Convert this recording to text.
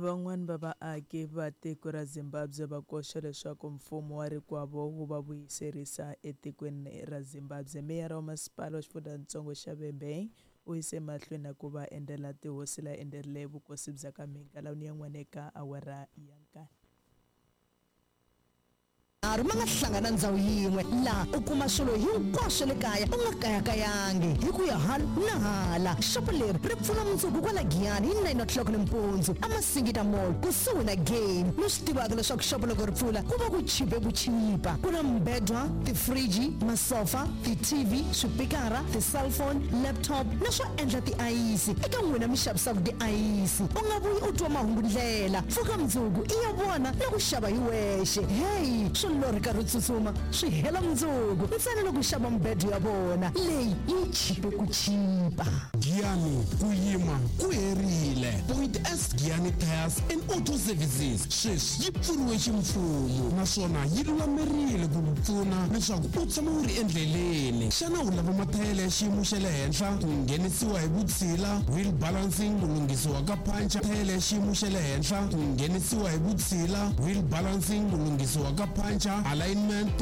Van'wana va vaaki va tiko ra Zimbabwe va koxa leswaku mfumo wa rikwavo wu va vuyiserisa etikweni ra Zimbabwe. Meyara wa masipala wa xifundzhantsongo xa Vhembe u yise mahlweni na ku va endzela tihosi la endzerile vukosi bya ka Mhinga lawuni yan'wana eka awara ya nkaye. Manharhu ma nga hlangana ndzhawu yin'we laha u kuma swilo hinkwaswo le kaya u nga kayakayangi hi ku ya hala na hala. Xopo leri ri pfula mundzuku kwala Giyani hi 9 o'clock nimpundzu eMasingita Mall kusuhi na Game. Mi swi tivaka leswaku xopo loko ri pfula ku va ku chipe ku chipa. Ku na mibedwa, tifriji, masofa, ti-TV, swipikara, ti-cellphone, laptop na swo endla tiayisi eka n'wina mi xavisaka tiayisi. U nga vuyi u twa mahungu ndlela. Pfuka mundzuku i ya vona na ku xava hi wexe. Heyi, swo lorheka ro tsutsuma swi hela mundzuku ntsena loko u xava mibedo ya vona leyi yi chipe ku chipa. Giyani, ku yima ku herile. Point S Giyani Tyres and Auto Services sweswi yi pfuriwe ximfumo naswona yi lulamerile ku ku pfuna leswaku u tshama u ri endleleni. Xana u lava mathayele ya xiyimo xa le henhla, ku nghenisiwa hi vutshila, wheel balancing, ku lunghisiwa ka puncher, thayele ya xiyimo xa le henhla, ku nghenisiwa hi vutshila, wheel balancing, ku lunghisiwa ka puncher, alignment,